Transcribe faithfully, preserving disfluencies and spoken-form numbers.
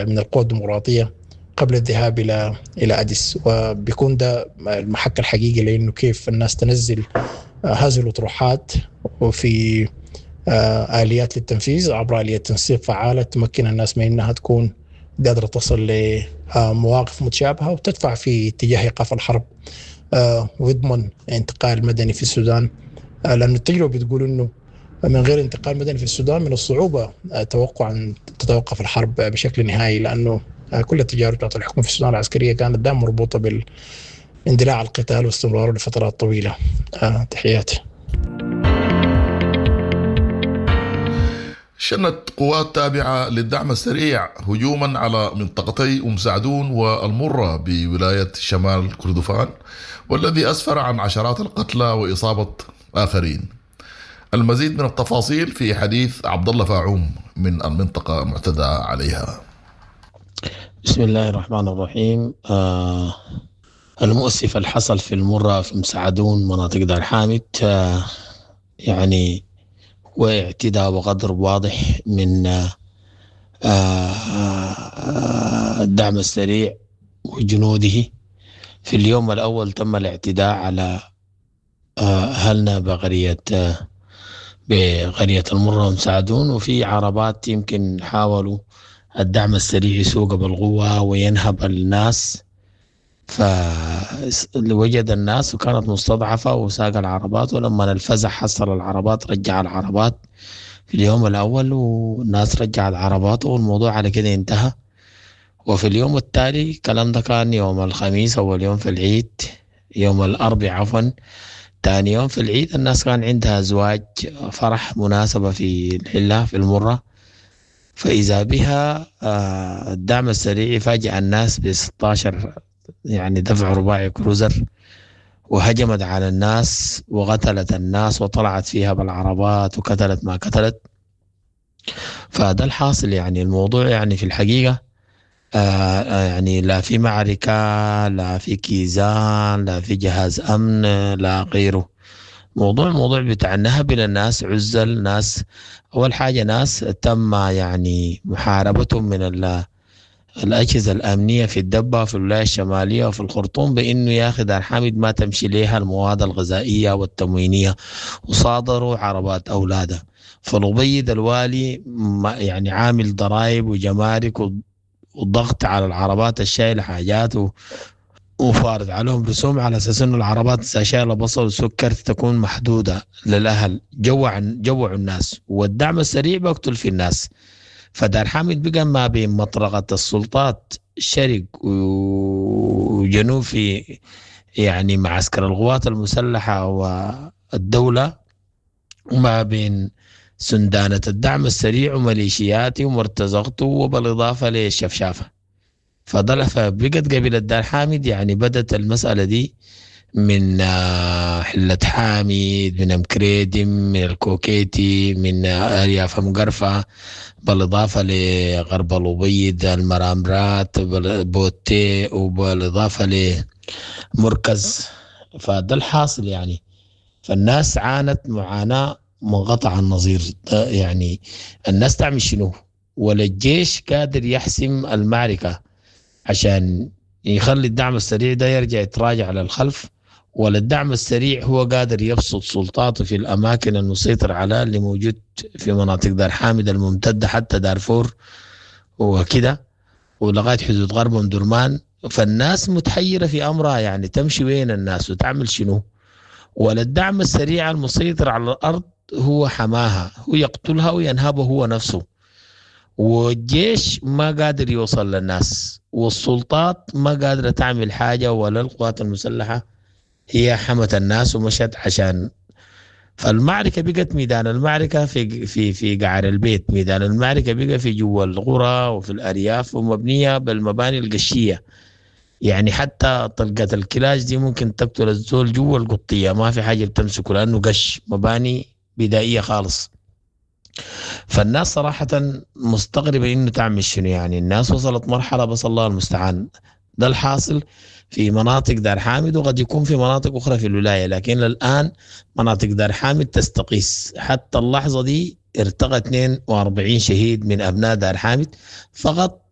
من القوى الديمقراطية قبل الذهاب الى الى اديس، وبيكون ده المحك الحقيقي لانه كيف الناس تنزل هذه الاطروحات وفي اليات للتنفيذ عبر اليات تنسيق فعاله تمكن الناس من انها تكون قادره تصل لمواقف متشابهه وتدفع في اتجاه ايقاف الحرب ويضمن انتقال مدني في السودان، لأن التجربه بتقول انه من غير انتقال مدني في السودان من الصعوبه توقع ان تتوقف الحرب بشكل نهائي، لانه كل التجارب بتاعت الحكم في السودان العسكريه كانت دائما مربوطه باندلاع القتال واستمراره لفترات طويله. تحياتي. شنت قوات تابعة للدعم السريع هجوما على منطقتي أم سعدون والمرة بولاية شمال كردفان، والذي أسفر عن عشرات القتلى وإصابة آخرين. المزيد من التفاصيل في حديث عبد الله فاعوم من المنطقة المعتدى عليها. بسم الله الرحمن الرحيم. آه المؤسف الحصل في المرة في مسعدون مناطق دار حامد آه يعني واعتداء وغدر واضح من آه آه الدعم السريع وجنوده. في اليوم الأول تم الاعتداء على أهلنا بقرية بقرية المرة ومساعدون، وفي عربات يمكن حاولوا الدعم السريع يسوق بالقوة وينهب الناس، فوجد الناس وكانت مستضعفة وساق العربات، ولما الفزع حصل العربات رجع العربات في اليوم الأول، والناس رجع العربات والموضوع على كده انتهى. وفي اليوم التالي الكلام ده كان يوم الخميس أول يوم في العيد، يوم الأربعاء عفوا تاني يوم في العيد، الناس كان عندها زواج فرح مناسبة في الحلة في المرة، فإذا بها الدعم السريع فاجأ الناس ب ستة عشر يعني دفع رباعي كروزر، وهجمت على الناس وقتلت الناس وطلعت فيها بالعربات وقتلت ما قتلت. فده الحاصل يعني الموضوع يعني في الحقيقة آه يعني لا في معركة، لا في كيزان، لا في جهاز أمن، لا غيره. موضوع موضوع بتاع النهب للناس، عزل ناس. أول حاجة ناس تم يعني محاربتهم من الأجهزة الأمنية في الدبة في الولاية الشمالية وفي الخرطوم بأنه يا أخي دار حامد ما تمشي ليها المواد الغذائية والتموينية، وصادروا عربات أولادها. فالأبيض الوالي يعني عامل ضرائب وجمارك والضغط على العربات الشايلة حاجات و... وفارض عليهم رسوم على أساس إنه العربات شايلة بصل وسكر تكون محدودة للأهل. جوع جوعوا الناس، والدعم السريع بقتل في الناس. فدار حامد بقى ما بين مطرقة السلطات شرق وجنوب في يعني معسكر القوات المسلحة والدولة، وما بين سندانة الدعم السريع وميليشياته ومرتزقته، وبالإضافة للشفشافة. فضل فبقت قبيلة دار حامد يعني بدت المسألة دي من حلة حامد، من أمكريدم، من الكوكيتي، من أرياف مقرفة، بالإضافة لغرب الأبيض، المرامرات، بوتي، وبالإضافة لمركز. فده الحاصل يعني. فالناس عانت معاناة منقطع النظير. يعني الناس تعمل شنو؟ ولا الجيش قادر يحسم المعركة عشان يخلي الدعم السريع ده يرجع يتراجع للخلف، ولا الدعم السريع هو قادر يبسط سلطاته في الأماكن المسيطر على اللي موجود في مناطق دار حامد الممتدة حتى دارفور وكده ولغاية حدود غرب أم درمان. فالناس متحيرة في أمرها، يعني تمشي وين الناس وتعمل شنو؟ ولا الدعم السريع المسيطر على الأرض هو حماها، هو يقتلها وينهبه هو نفسه، والجيش ما قادر يوصل للناس، والسلطات ما قادرة تعمل حاجة، ولا القوات المسلحة هي حمت الناس ومشت عشان. فالمعركة بقت ميدان المعركة في في في قعر البيت، ميدان المعركة بقى في جوا القرى وفي الأرياف، ومبنية بالمباني القشية. يعني حتى طلقة الكلاش دي ممكن تقتل الزول جوا القطية، ما في حاجة بتمسكه لأنه قش، مباني بدائية خالص. فالناس صراحة مستغربة إنه تعمل شنو. يعني الناس وصلت مرحلة بس الله المستعان. ده الحاصل في مناطق دار حامد، وقد يكون في مناطق أخرى في الولاية، لكن الآن مناطق دار حامد تستقيس. حتى اللحظة دي ارتقى اثنين وأربعين شهيد من أبناء دار حامد فقط